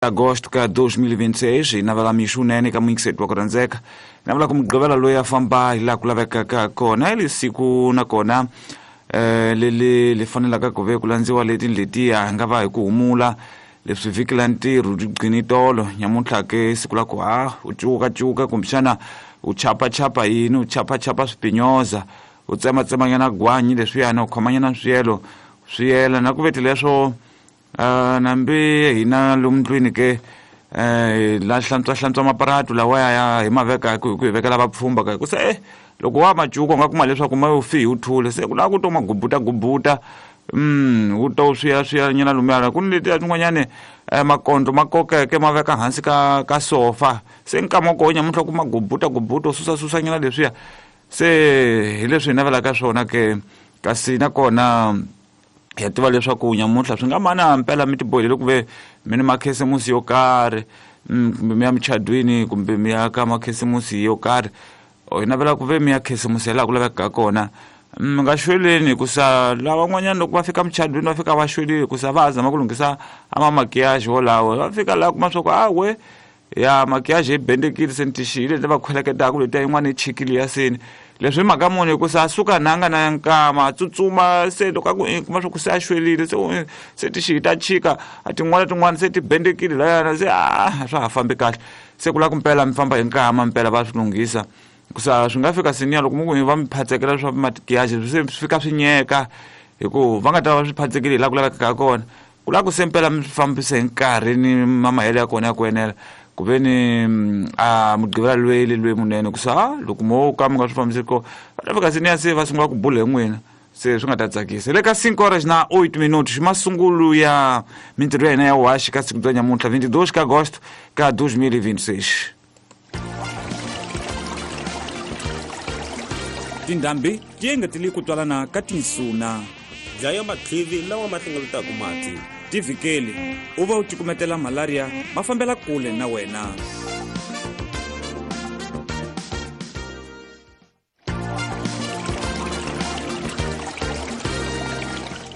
Agosto ka 2026 hi navela mixo wunene ka muyingiseti wa ku rhandzeka. Navela ku Mugqivela loyi a famba hi laha ku lavekaka kona hi lesiku nakona leli li fanelaka ku ve ku landziwa leti letiya hi nga va hi ku humula leswi vhiki la ntirho byi gcini tolo nyamuntlha ke siku la ku ha u cukacuka kumbexana u chapachapa yini u chapachapa swipinyoza u tsematsemanyana gwanyi leswiyani u khomanyana swiyelo swi yela na ku veti leswo nambi hina lomu ndlwini ke la hlantswa hlantswa maparatu lawaya ya hi maveka ku hi vekela vapfhumba ka ku se loko wa macuka u nga kuma leswaku ma yo fi hi wu thule se ku lava ku to ma gubuta gubuta wu to swiya swiya nyana lumuyana ku ni letiya tin'wanyani makondlo ma kokeke ma veka hansi ka sofa se nkama wa koho nyamuntlha ku ma gubuta gubuta u susa susa nyana leswiya se hi leswi hi navelaka swona ke kasi nakona hi tiva leswaku nyamuntlha swi nga mana mpela mi tibohile ku ve mi ni makhisimusi yo karhi kumbe mi ya muchadwini kumbe mi ya ka makhisimusi yo karhi hi navela ku ve mi ya khisimusi laha ku lavekaka kona mi nga xweleni hikusa lavan'wanyana loko va fika muchadwini va fika va xwelile hikusa va ha zama ku lunghisa a mamakiyaji wolawo va fika laha kuma swa ku awe ya makiyaji yi bendekile se ni tixiyile leti va khweleketaka letiya yin'wana yi chikile ya seni leswi hi mhaka muni hikusa a suka na nga na nkama a tsutsuma se loko a ku i kuma swa ku se a xwelile se se tixiyi ta chika a tin'wana tin'wana se ti bendekile layana se a swa ha fambi kahle se ku lava ku mpela mi famba hi nkama mpela va swi lunghisa hikusa swi nga fika seniya loko mi ku va mi phatsekela swa makiyaji se swi fika swi nyeka hi ku va nga ta va swi phatsekile hi laha ku lavekaka kona ku lava ku se mpela mi swi fambise hi nkarhi ni mamahelo ya kona ya ku enela ku ve ni a Mugqivela lweyi loyi munene ku sa loko mo ka mi nga swi fambisi ko va ta fika seniya se va sungula ku bula hi n'wina se swi nga ta tsakisa le ka 5 horas na 8 minutos masungulo ya mintirho ya hina ya waxi ka siku bya nyamuntlha 22 ka agosto ka 2026. Tindhambi ti engetele ku twalana ka tinsuna. Dlaya matlhivi lawa ma hlengeletaka mati. Tivhikeli u va u cukumetela malaria ma fambela kule na wena.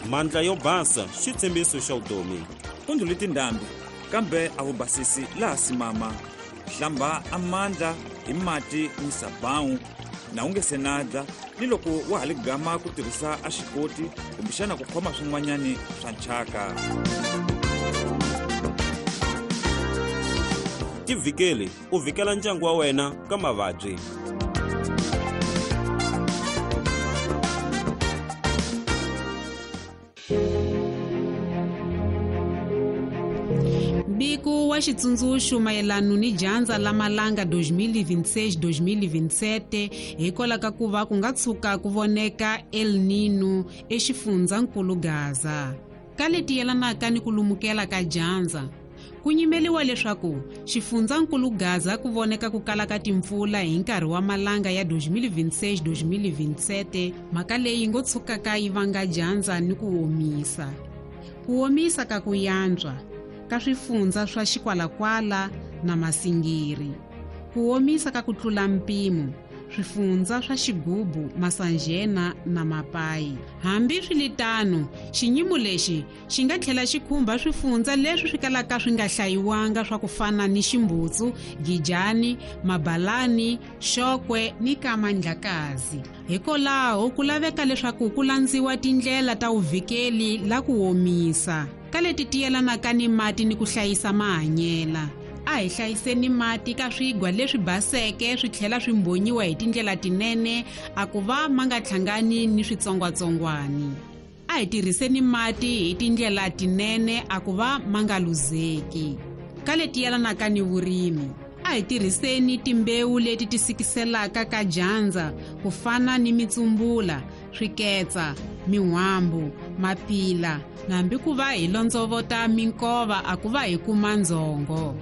Mandla yo basa xitshembiso xa vutomi. Ku ndlhule tindhambi kambe a wu basisi laha simama. Hlamba a mandla hi mati ni sabawu na u nge se na dya ni loko wa ha li gama ku tirhisa a xikoti kumbexana ku khoma swin'wanyani swa nchaka. Tivhikeli u vhikela ndyangu wa wena ka mavabyi. Mbiko wa xitsundzuxo mayelano ni dyandza la malanga 2026-2027 hikwalaho ka ku va ku nga tshuka ku voneka El Nino exifundzankulu Gaza. Ka leti yelanaka ni ku lumukela ka dyandza, ku nyimeliwa leswaku xifundzankulu Gaza ku voneka ku kala ka timpfula hi nkarhi wa malanga ya 2026-2027, mhaka leyi ngo tshukaka yi vanga dyandza ni ku omisa. Ku omisa ka ku yantswa ka swifundza swa Xikwalakwala na Masingiri. Ku omisa ka ku tlula mpimo swifundza swa Xigubu, Masanjena na Mapayi. Hambi swi li tano, xinyimo lexi xi nga tlhela xi khumba swifundza leswi swi kalaka swi nga hlayiwanga swa ku fana ni Ximbutsu, Gijani, Mabalani, Xokwe ni Kamandlakazi. Hikwalaho ku laveka leswaku ku landziwa tindlela ta vuvhikeli la ku omisa ka leti tiyelanaka ni mati ni ku hlayisa mahanyela. A hi hlayiseni mati ka swigwa leswi baseke swi tlhela swi mbhonyiwa hi tindlela tinene a ku va ma nga hlangani ni switsongwatsongwani. A hi tirhiseni mati hi tindlela tinene a ku va ma nga luzeki. Ka leti yelanaka ni vurimi, a hi tirhiseni timbewu leti ti sikiselaka ka dyandza ku fana ni mitsumbula, swiketsa, min'hwambu, mapila, nambi ku va hi londzovota minkova a ku va hi kuma ndzhongo.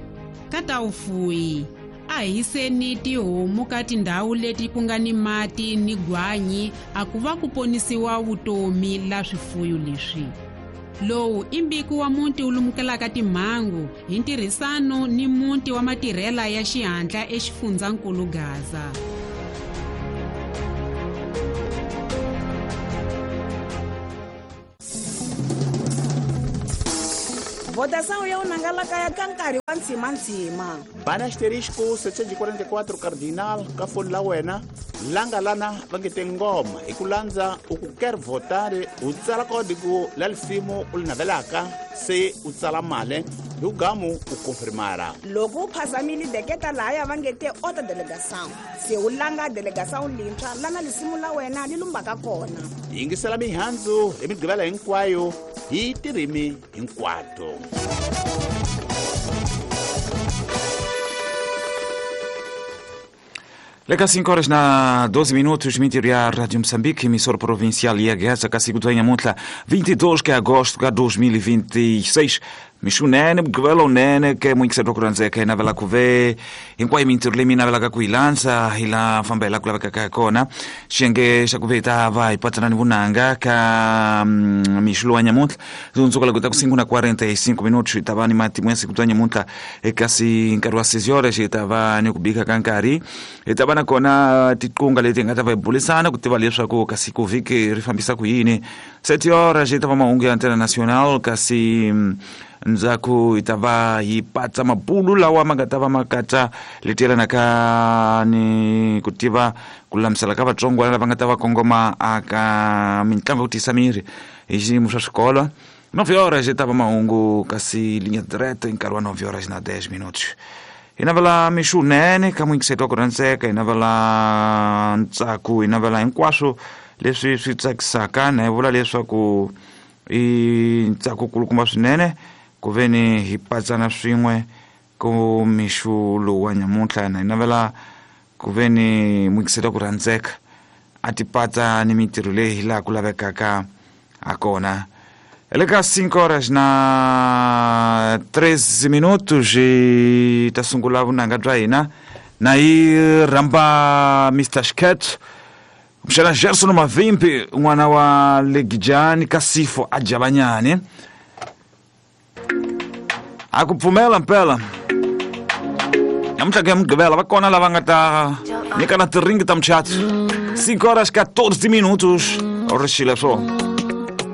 Ka ta vufuyi, a hi yiseni tihomu ka tindhawu leti ku nga ni mati ni gwanyi a ku va ku ponisiwa vutomi la swifuyo leswi. Lowu i mbiko wa muti wu lumukelaka timhangu hi ntirhisano ni muti wa matirhela ya xihatla exifundzankulu Gaza. Votação ya unanga la kaya ka nkarhi wa ntshimantsima. Bana asterisco 744 cardinal ka foni la wena langa lana va nge te ngoma hi ku landza u ku quer votar u tsala kódigo la lisimu u li navelaka se u tsala male hi ku gamu u confirmara. Loko u phazamile deketa lahaya va nge te ota delegação se u langa delegação lintshwa lana lisimu la wena li lumbaka kona. Yingisela mihandzu hi migqivela hinkwayo hi tirimi hinkwato. Leka 5 horas na 12 minutos, mintirho ya Radio Moçambique, emissora provincial ya Gaza, kasi ku nyamuntlha 22 de agosto de 2026. Mixunene, mugqivela unene ke muyingiseri wa ku rhandzeka hi navela ku ve hinkwayo mintirho leyi mi navelaka ku yi landza hi la famba hi la ku lavekaka hi kona. Xiyenge xa ku ve hi ta va hi patsana ni vunanga ka mixo lowa nyamuntlha hundzuka loko ta ku 5 na 45 minutos hi ta va ni matimu ya siku bya nyamuntlha kasi nkarhi wa 6 horas hi ta va ni ku bika ka nkarhi hi ta va na kona tiqunga leti hi nga ta va hi burisana ku tiva leswaku kasi ku vhiki ri fambisa ku yini. 7 horas hi ta va mahungu ya Antena Nacional kasi ndzhaku hi ta va hi patsa mabulu lawa ma nga ta va ma katsa leti yelanaka ni ku tiva ku lulamisela ka vatsongwana lava nga ta va kongoma aka mitlangu ya ku tiyisa miri hi xiyimo swa swikolo. 9 horas hi ta va mahungu kasi linha direta hi nkarhi wa 9 horas na 10 minutos. Hi navela mixunene ka muyingiseri wa ku rhandzeka, hi navela ntsako, hi navela hinkwaswo leswi swi tsakisaka na hi vula leswaku i ntsako kulukumba swinene ku ve ni hi patsana swin'we ku mixo lowu wa nyamuntlha. Na hi navela ku ve ni muyingiseri wa ku rhandzeka a ti patsa ni mintirho leyi hi laha ku lavekaka ha kona. Le ka 5 horas na 13 minutos hi ta sungula vunanga bya hina na hi rhamba Mr Sket mxana Gerson Mavimpi n'wana wa Legijani Kasifo a Javanyani a ku pfumela mpela namuntlha ku ya mugqivela va kona lava nga ta nyikana tiringi ta muchato. 5 horas 14 minutos rixile swo.